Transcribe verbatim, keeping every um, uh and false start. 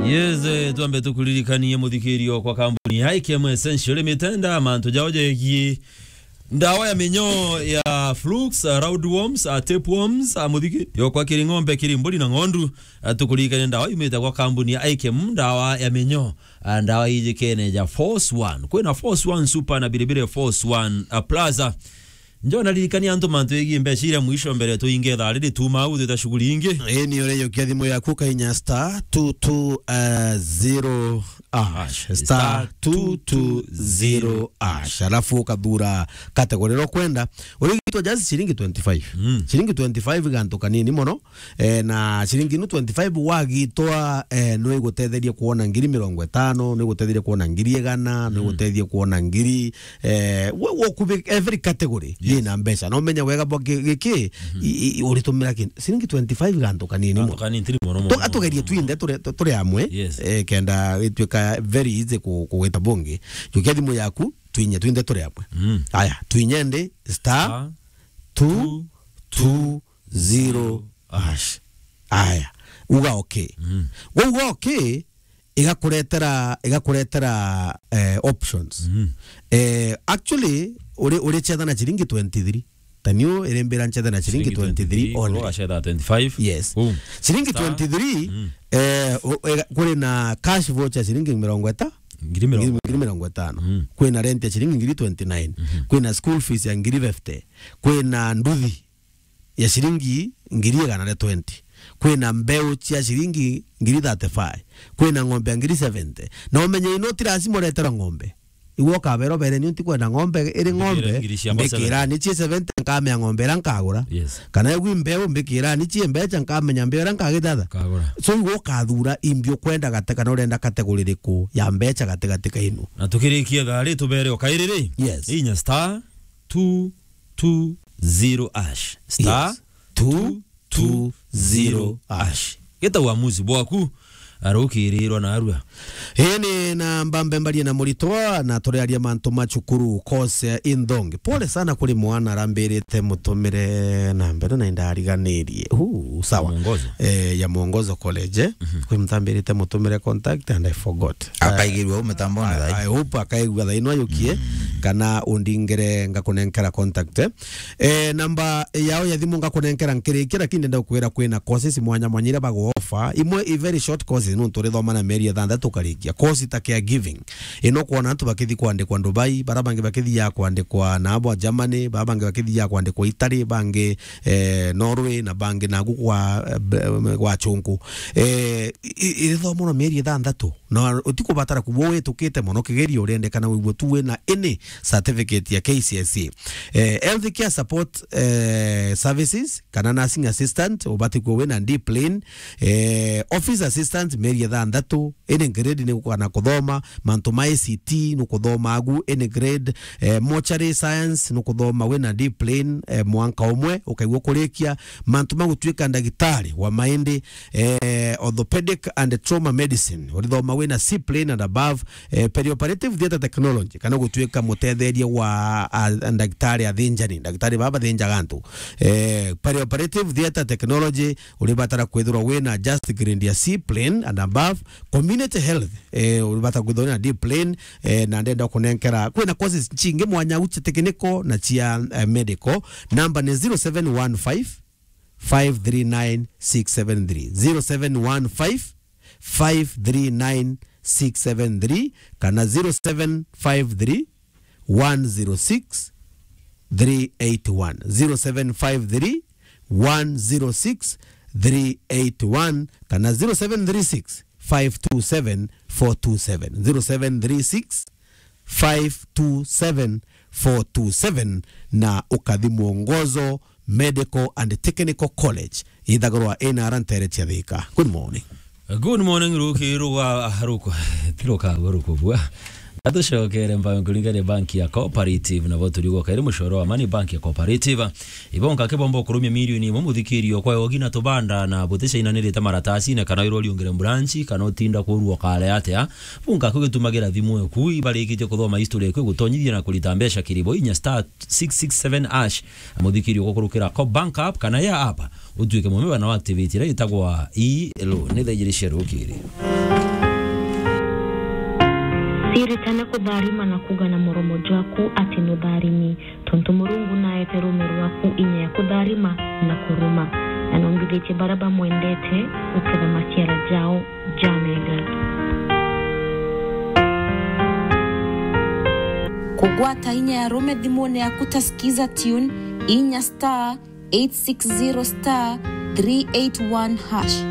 Yes, eh, twambe tukuririkanie muthikirio kwa kambuni ya I K M Essential Limited, mantu jao jegie ndawa ya minyoo ya flukes, uh, roundworms, uh, tapeworms, uh, muthikirio kwa kiri ng'ombe, kiri mburi na ng'ondu. Uh, tukuririkanie ndawa yumite kwa kambuni ya I K M, ndawa ya minyoo, uh, ndawa ijikene ja Force One. Kwina Force One Super na biribiri Force One, uh, Plus. Njo naririkania antu mantu yegie mbeca iria mwisho mbere tuinge thaa riri tuma au twita shughuli ingi. Ii ni uria yukia thimu yaku kainya star two two zero hash. Star two two zero hash. Alafu ukathura category iria ukwenda. Urigitwa just ciringi twenty-five. Mm. Ciringi twenty-five gantu kanini mono. Eh, na ciringi inu twenty-five wagitwa, eh, no igutetherie kuona ngiri mirongo itano, no igutetherie kuona ngiri igana, no Mm. igutetherie kuona ngiri, eh, we, we kubi every category Yes. yina mbeca. Na umenya wega bwa gi-, giki, Mhm. i, i, uritumira ki, ciringi twenty-five gantu kanini Gantu mono. kanini, tiri mono, mono, Tuga tugerie mono, twinthe mono. turi, tu-, turi amwe, Yes. eh, kenda itwika very easy ku-, kugwita bungi. Jukia thimu yaku, twinye twinthe turi amwe. Mm. Aya, twinye ndi star Star two two zero hash. Aya, uga okay. Mm. Wauga okay, igakuretera, igakuretera, eh, options. Mm. Eh, actually, uri, uri chetha na ciringi twenty-three. Taniu irimbira nchetha na ciringi Ciringi twenty-three twenty-three, only. Uro achetha twenty-five. Yes. Boom. Ciringi Star. twenty-three, Mm. eh, u-, ega-, kuri na cash voucher ciringi mirongo ita-, Ngiri mirongo ngiri, ngiri mirongo itano. Mm. Kwina rent ya ciringi ngiri twenty-nine. Mhm. Kwina school fees ya ngiri fifty. Kwina nduthi ya ciringi ngiri igana ria twenty. Kwina mbeu cia ciringi ngiri thirty-five. Kwina ng'ombe ya ngiri seventy. Na umenye ino ti lazima ureterwa ng'ombe. Igwe ukabera ubere ni unti kwenda ng'ombe iri Mbikira ng'ombe, ngiri cia mbikira seventy. Ni cie seventy nkamenya ng'ombe ira nkagura. Yes. Kana igwe mbeu mbikira ni cie mbecha nkamenya mbeu ira nkagithatha. Kagura. So igwe ukathura imbi ukwenda gate kana urenda category iriku ya mbecha gatigati kainu. Na tukirikia thaa ri tubere o kairi ri? Yes. Inya star two two zero hash. Star Yes. Two two zero hash. Geta uamuzi bwaku, arukirirwa na arua. Ii ni namba mbembarie na muritwa, na turiaria mantu ma cukuru, course ya inthongi. Pole sana kuri mwana arambirite mutumire na mbere na indariganirie. Huu, sawa. Mwongozo. Eh, ya Mwongozo College, eh. Mhm. Kwi mutambirite mutumire contact and I forgot. Akaigirua u mitambone I, thaa ii. I hope akaigua thaa ino ayukie, Mm. kana undingire ngakunenkera contact, eh. Eh, namba yao ya thimu ngakunenkera nkirikia, lakini ndenda gukwira kwina courses mwanya mwanya iria bagu offer. Imwe i very short courses, nontu urithoma na mieri ithanthatu ukarikia. Course ta caregiving. Ino kwona antu bakithi kwandikwa Dubai, bara bangi bakithiaga kwandikwa na abo Germany, bara bangi bakithiaga kwandikwa Italy, bangi, eh, Norway, na bangi nagu kwa, eh, b-, kwa chunku. Eh, i-, i-, irithomwa na mieri ithanthatu. Na utikubatara kuba witukite mono kigerio, urendekana wigwe tu wina any certificate ya K C S E. Eh, health care support, eh, services, kana nursing assistant, ubati kuba wina D plain, eh, office assistant, mieri ithanthatu, any grade ni kana kuthoma, mantu ma I C T ni kuthoma agu, any grade, eh, mortuary science ni kuthoma wina D plain, eh, mwanka umwe, ukaigua kurikia, mantu ma gutuika ndagitari wa maindi, eh, orthopedic and trauma medicine, urithoma wina C plain and above, eh, perioperative theatre technology, kana gutuika mutetheria wa, a, ndagitari athinjani, ndagitari baba bathinjaga antu. Eh, perioperative theatre technology, uribatara kwithirwa wina just grade ya C plain and above, community health, eh, uribatara kwithirwa wina D plain, eh, na ndenda kunenkera, kwina courses chingi mwanya u cia technical na cia, eh, medical. Namba ni zero seven one five, five three nine six seven three. Zero seven one five, five three nine six seven three, kana zero seven five three, one zero six, three eight one. Zero seven five three, one zero six, three eight one, kana zero seven three six, five two seven, four two seven. Zero seven three six, five two seven, four two seven, na ukathi Mwongozo Medical and Technical College, ithagirwa ina ara ntere cia Thika. Good morning. Good morning, ruki ruga, ruku, ti ruka, ruku bua. Atucokere mbango kuringania banki ya Cooperative, na bo turiuga kairi mucoro wa Amani Bank ya Cooperative. Ibonka kibomba kurumia milioni imwe muthikirio kwa yogi na tubanda na buticainanirite maratasine kana irwo riungire branch kana utinda kurua kare atia. Bunka kugitumagira thimu eku ibarikitie kuthoma history eku gutonyithia na kurita mbeca kiribo inya star six six seven hash. Muthikirio gukurukira Co-, bank app kana ya app, utuike mumeba na activate iria itagwa i lo ni thaa ijiri cia rukiri. Tiritane kutharima na kuuga na muromo jwaku ati nutharimi, tontu Murungu naete rume rwaku inya ya kutharima na kuruma, na nombithitie baria bamwendete guketha maciara jao jamega. Kugwata inya ya rume thimune yaku ta Skiza Tune, inya star eight six zero star three eight one hash.